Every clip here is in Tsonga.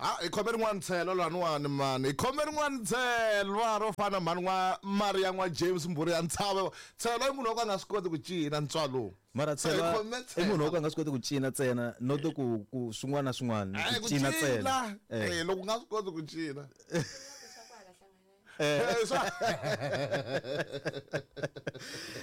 Ha hi khome rin'wana tshelo laniwani mani hi khome rin'wana tshelwa ro fana mhani n'wa Maria n'wa James mbhuri ya ntshava tshelo i munhu wa ku a nga swi koti ku cina ntswalo mara Se hi tshelwa khome i munhu wa ku tshelo a nga swi koti ku cina ntsena not ku ku swin'wana na swin'wana Eh, ku ku cina ntsena cina Eh. Eh, loko u nga swi koti ku cina Leswaku hala hlanganani. Eh, swa-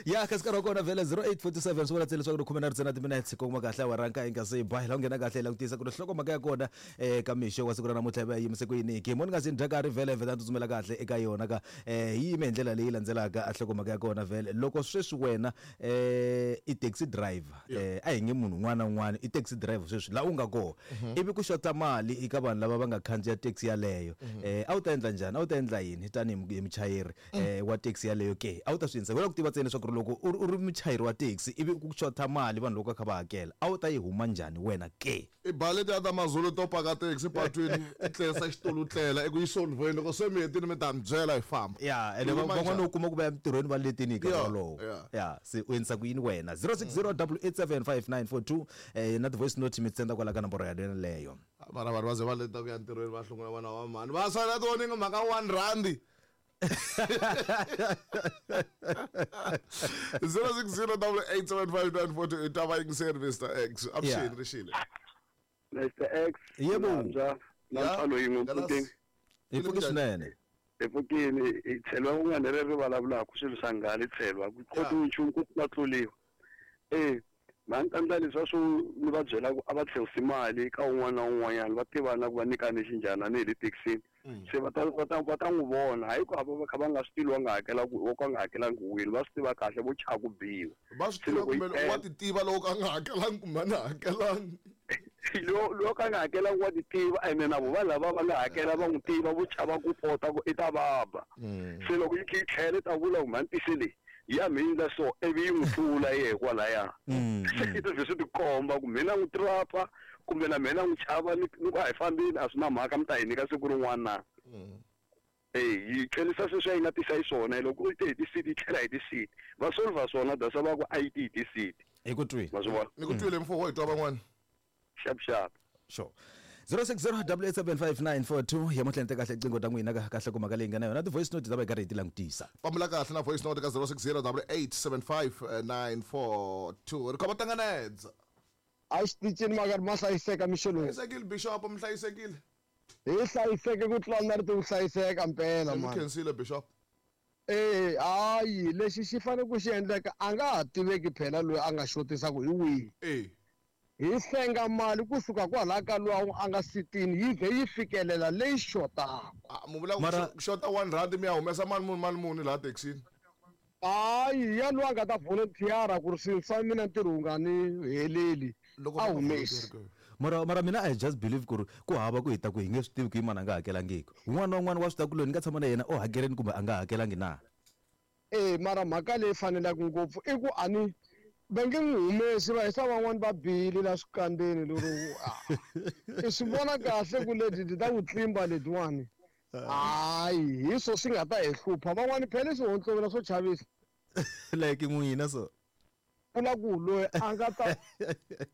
ya kasi nkarhi wa kona vhele 0847 swi vula ntsena leswaku ri khume na ritsena timinetse kuma kahle awara nkaye nga se ba hi la u nghena kahle hi langutisa ku ri nhlokomhaka ya kona um ka mixo wa siku ra namuntlha yi va yi yimise ku yini ke moni nga se ni dya karhi vhele vhele a tsutsumela kahle eka yona ka um yi yime hi ndlela leyi landzelaka a nhlokomhaka ya kona vhele loko sweswi wena um i taxi driver um a hi nge munhu un'wana na un'wana i taxi driver sweswi laha u nga kona ivi ku xota mali eka vanhu lava va nga khandziya taxi yaleyo um a wu ta endla njhani a wu ta endla yini tanihi hi muchayeri um wa taxi yaleyo ke a wu ta swi endlisa ku tiva ntsena leswaku ri loko u ri- u ri muchayeri wa taxi ivi ku xota mali vanhu loko va kha va hakela a wu ta yi huma njhani wena ke i ba letiya ta mazulu to paka taxi patwini i tlerisa xitulu tlela i ku yi solveni loko se mi hetile mi ta mi byela hi famba ya ene Yi huma van'wana njhani? u kuma ku va ya mintirhweni va letini hi nkarhi Yeah, wolowo yeah. ya se u endlisa ku yini wena 060 8875942 eh na ti-voice note mi tsenda kwala ka nomboro yaleyo mara vanhu va ze va leta ku ya ntirhweni va hlungula vana va mhani va sala tivoninga mhaka one randi 060 i ta va yingiseri Mr X avuxeni Yeah. rixile Mr X Yebo. Namza na Yeah. ntswalo yin'we Galas. mpfukeni hi pfuki swinene mpfukeni hi tshelwa kun'wana leri ri vulavulaka swilo swa nghala hi tshelwa ku khotiwi nchumu ku va tluliwa e mhani ta ndla leswiya swo ni va byela ku a va tlherisi mali ka un'wana na un'wanyana va tiva na ku va nyikane xinjhani a ni hi le thekisini se va ta va ta va ta n'wi vona hayi ku a va va kha va nga swi tivi wa nga hakelaka wo ka nga hakelangi wini va swi tiva kahle vo chava ku biwa va swi Se tiva loko yi kumbe tele- wa ti tiva loko ka nga hakelangi kumbe a nga hakelangi lo lo ka nga hakelangi wa ti tiva ene na vo va lava va nga hakela va n'wi tiva vo chava ku pota ku i ta vabya se loko yi kha yi tlhela i ta vula ku mhani tise leyi ya mhindla so ivi yi n'wi tlula yehe kwalaya se i ta ze swi tikomba ku mina n'wi trapa kumbe na mina n'wi chava ni ni ku a hi fambeni a swi na mhaka mi ta hi nyika siku rin'wana na e yi tlhelisa sweswi a yi nga tisa hi swona loko u te hi tisiti yi tlhela hi tisiti va solva swona dasa va ku a yi ti hi tisiti hi ku twile ma swi vona ni ku twile mfo wo hi twa van'wana xap xap sure 060 8875942 yamuhla ni te kahle qingho ta n'wina ka kahle ku mhaka leyi nga na yona ti-voice note ta va hi karhi hi ti langutisa fambela kahle na voice note ka 060 8875942 ri khoma tanganedza a xitichini makari ma hlayiseka mixo lowu hlayisekile bishop mi hlayisekile hi hlayiseke ku tlula na rito ku hlayiseka mpela mi mani khensile bishop e hayi lexi xi fanele ku xi endleka a nga ha tiveki phela loyi a nga xotisaku hi wihi e hi hlenga mali kusuka kwalaya ka luwa a nga sitini yi vhe yi fikelela leyi xotaka Ah, mu vula ku Mara- xota one rand mi ya humesa mali muni mali muni laha thekisini hayi ya loyi a nga ta volunteer ku ri swilo swa mina ntirho wu nga ni heleli loko a va humesi volunteer mara mara mina i just believe ku ri ku hava ku hi ta ku hi nge swi tivi ku yi mani a nga hakelangiki un'wana na un'wana wa swi tiva ku loyi ni nga tshama na yena o hakeleni kumbe a nga hakelangi na e mara mhaka leyi fanelaka ngopfu i ku a ni va nge n'wi humesi va hisa van'wani va bihile la swikandzeni lero i swi vona kahle ku leti ti ta ku tlimba letiwani hayi hi swo swi nga ta hi hlupha van'wani phela i swihontlovela swo chavisa like n'wina so vula ku loyi a nga ta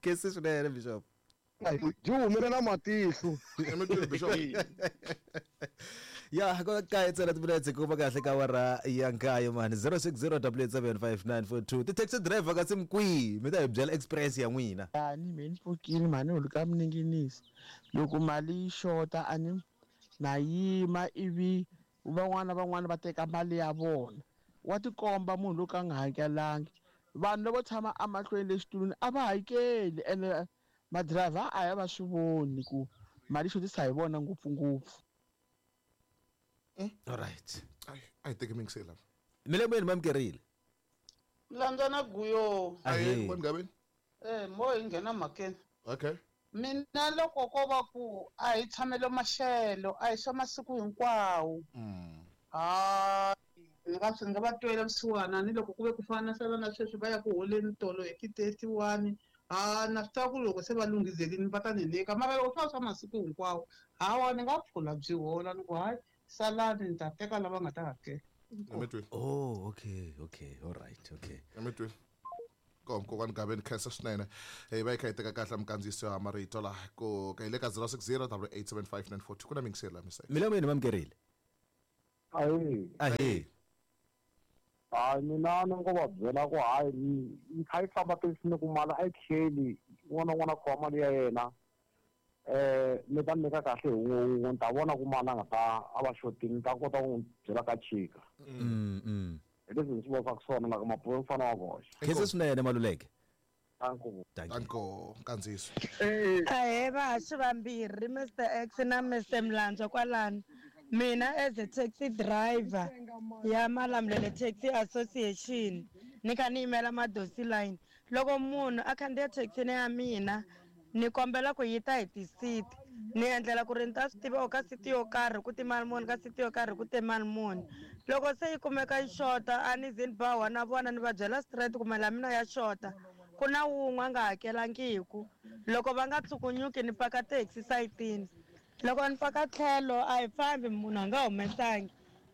kesi swinene bishop byi humelela matihlo ke. Mi twile bishop ya ko kaye ntsena timinetse ku va kahle ka awara ya nkaye mani 060 8875942 ti-taxi driver kasi mi kwihi mi ta hi byela experience ya n'wina Yani me ni pfukile mhani holi ka mininginisi loko mali yi xota a ni na yima ivi van'wana na van'wana va teka mali ya vona wa tikomba munhu loko a nga hakelangi vanhu lavo tshama emahlweni le xitulwini a va hakeli ene madirayivha a ya va swi voni ku mali yi xotisa hi vona ngopfungopfu alright Ai, a hi teki mingiseli lava milemweni mamukerile landza na guyo ahe Ahee. kwani gaveni eh mo hi nghena mhakeni okay mina loko ko va ku a hi tshamelo maxelo a hi swa masiku hinkwawo hayi ni nga swi nga va twela vusiwana ni loko ku ve ku fana na sala na sweswi va ya ku holeni tolo hi ti-31 ha na swi tiva ku loko se va lunghizelini va ta ni nyika mara loko swi va swa masiku hinkwawo hawa ni nga phula byi hola ni ku hayi salani ni ta teka lava nga ta hakela mi twile oh okay okay alright okay mi twile Kom kokwani Gaveni, khensa swinene. Hi va hi kha hi teka kahle minkandziyiso ya marito laha ku ka hi le ka 060 875 ku na mingiseri laha miseke. Milamu yini mamukerile? Ahee. Ahee. Hayi, mina ni ngo va byela ku hayi, yi kha yi famba taxi ni ku mali a yi tlheli, un'wana na un'wana a khoma mali ya yena. Ni ta nyika kahle hi wun'we wun'we, ni ta vona ku mali a nga ta a va xotini, ni ta kota ku n'wi byela ka chika. Hi leswi ni swi vonisaka swona loko mabulo mfana wa voxa. Khensa swinene Maluleke. Danko. Danko nkandziyiso. Ahee vahaxi vambirhi, Mr X na Mr Mlandzwa kwalano. Mina as a taxi driver ya Malamulele Taxi Association ni kha ni yimela Madosi line. Loko munhu a khandziya thekisini ya mina ni kombela ku yi ta hi ti-seat, ni endlela ku ri ni ta swi tiva ka seat yo karhi ku ti mali muni, ka seat yo karhi ku te mali muni. Loko se yi kumeka yi xota a ni ze ni ba na vona, ni va byela straight ku mali ya mina ya xota, ku na wun'we a nga hakelangiku. Loko va nga tshukunyuki ni paka taxi sayitini, loko ni paka tlhelo a hi fambi, munhu a nga humesangi,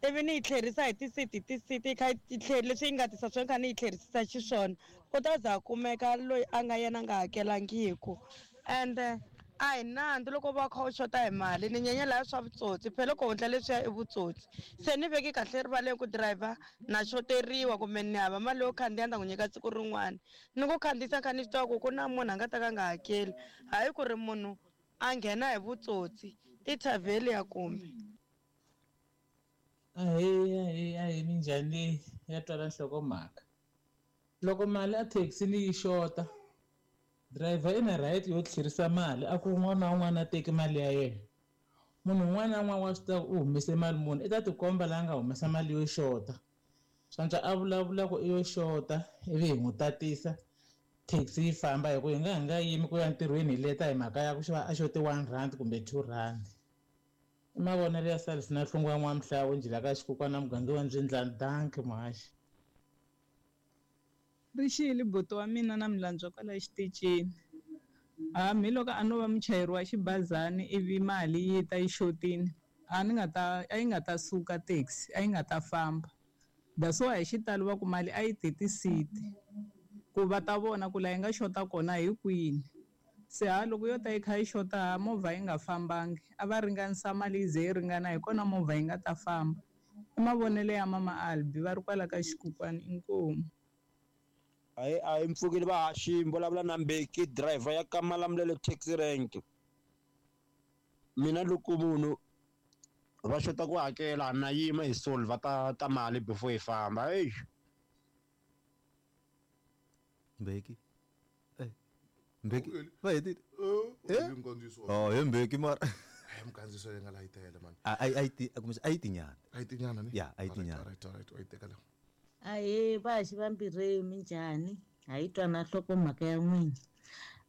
ivi ni yi tlherisa hi ti-seat hi ti-seat, yi kha yi tlheri leswi yi nga tisa swona kha ni yi tlherisisa xiswona, u ta za a kumeka loyi a nga yena a nga hakelangiku. Ende a hi nandzu loko va kha u xota hi mali, ni nyenyela ya swa vutsotsi, phela loko u endla leswiya i vutsotsi. Se ni veki kahle rivaleni ku driver na xoteriwa kumbe ni hava mali yo khandziya, ni ta n'wi nyika siku rin'wana. Ni ku khandziyisa kha ni swi tiva ku ku na munhu a nga ta ka a nga hakeli, hayi ku ri munhu a nghena hi vutsotsi i thavheli ya kumbe. Ahee, ahee, ahee, minjhani leyi ya twala nhlokomhaka. Loko mali a thekisini yi xota, driver i na right yo tlherisa mali, a ku un'wana na un'wana a teki mali ya yena. Munhu un'wana na un'wana wa swi tiva ku u humese mali muni, i ta tikomba laha nga humesa mali yo xota. Swantswa a vulavula ku i yo xota ivi hi n'wi tatisa taxi yi famba, hi ku hi nga hi nga yimi ku ya ntirhweni hi leta hi mhaka ya ku xava a xote R1 kumbe R2. I mavonelo ya Salisi na Hlungwa N'wamhlawu njhila ka xikukwana muganga wa Mbyindlani. Danki muhaxi. Rixile buti wa mina na Mlandzwa kwala xitichini. Hambi loko a no va muchayeri wa xibazana ivi mali yi ta yi xotini, a ni nga ta a yi nga ta suka taxi, a yi nga ta famba. That's why hi xitalo va ku mali a yi ti ti-seat ku va ta vona ku laha yi nga xota kona hi kwini. Se ha loko yo ta yi kha yi xota, ha movha yi nga fambangi, a va ringanisa mali yi ze yi ringana, hi kona movha yi nga ta famba. I mavonelo ya mama Albi va ri kwala ka xikukwana, inkomu. Ayi, ayi, mpfukile vahaxi, vulavula na Mbeki, driver ya ka Malamulele taxi rank. Mina loko munhu va xota ku hakela na yima hi solve ta mali before hi famba. Ey. Mbeki. Mbeki. Va hetile. Eh? Nkandziyiso. Oh, he Mbeki mara. Hey, minkandziyiso leyi nga la yi tele man. A yi ti, kumbe a yi tinyana. A yi tinyana ni? Ya, a yi tinyana. Alright, alright, wa yi teka leyo. Ahee vahaxi vambirhi, minjhani? Ha yi twa na nhlokomhaka ya n'wina.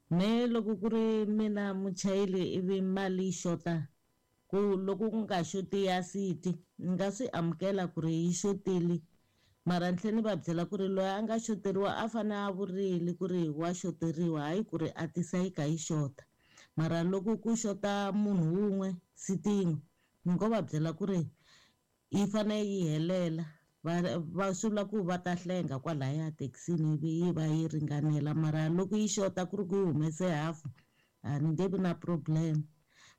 Me loko ku ri mina muchayeri ivi mali yi xota, ku loko ku nga xoti ya siti, ni nga swi amukela ku ri yi xotile, mara ni tlhela ni va byela ku ri loyi a nga xoteriwa a fane a vurile ku ri wa xoteriwa, hayi ku ri a tisa yi kha yi xota. Mara loko ku xota munhu wun'we siti yin'we, ni ngo va byela ku ri yi fane yi helela. Va swi vula ku va ta hlenga kwalaya thekisini ivi yi va yi ringanela, mara loko yi xota ku ri ku yi humese hafu, a ni nge vi na problem.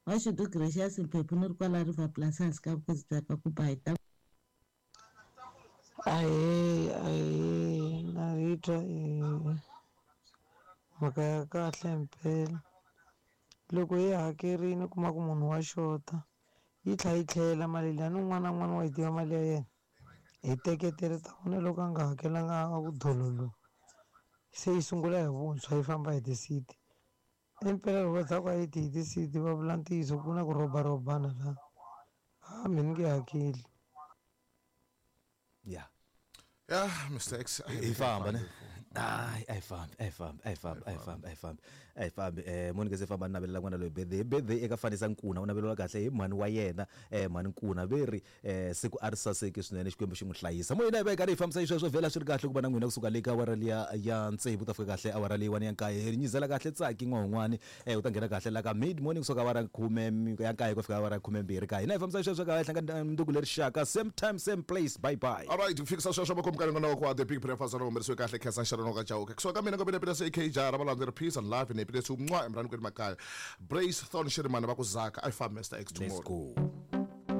Mashudu Gracious Mphephu, ni ri kwala River Plus hansi ka vukosi bya ka ku ba hi ta. Ahee, ahee, na yi twa mhaka ya kahle mpela. Loko yi hakerile u kuma ku munhu wa xota, yi tlhela yi tlhela mali liya, ni un'wana na un'wana wa yi tiva mali ya yena. Hi teketele ta vona loko a nga hakelanga a ku dololo, se yi sungula hi vuntshwa yi famba hi ti-seat. Impela loko va za ku a yi ti hi ti-seat va vula ntiyiso ku na ku robarobana laha, a mina ni nge hakeli. Ya. Ya, Mr X, hi famba ne. Ai, ai fambi, ai fambi, ai fambi, ai fambi, ai fambi, ai fambi. Moni se famba navelela n'wana loyi birthday, birthday eka Fanisa Nkuna, u naveleriwa kahle hi mhani wa yena, mhani Nkuna ve ri siku a ri saseki swinene, Xikwembu xi n'wi hlayisa. Moyeni hi va hi karhi hi fambisa xisweswo, vhela swi ri kahle ku va na n'wina kusuka le ka awara liya ya tsevu ku ta fika kahle awara leyiwani ya nkaye. Hi nyizela kahle Tsaki n'wahun'wani, u ta nghena kahle la ka mid morning kusuka awara khume ya nkaye ku fika awara khumembirhi kaye. Hina hi fambisa xisweswo ka hi hlangana mundzuku leri xaka, same time same place, bye bye. All right, ku fikisa sweswo makumu ka nongonoko wa The Big Breakfast, ro humelerisiwe kahle Khensa Nxarolo. Rona ka Chauke. Kusuka ka mina ku pele se AK Jara valandzeri peace and love ni pele se umncwa emrani kweli makaya. Brace Thorn Shirimani va ku Zaka I farm Mr X tomorrow. Let's go.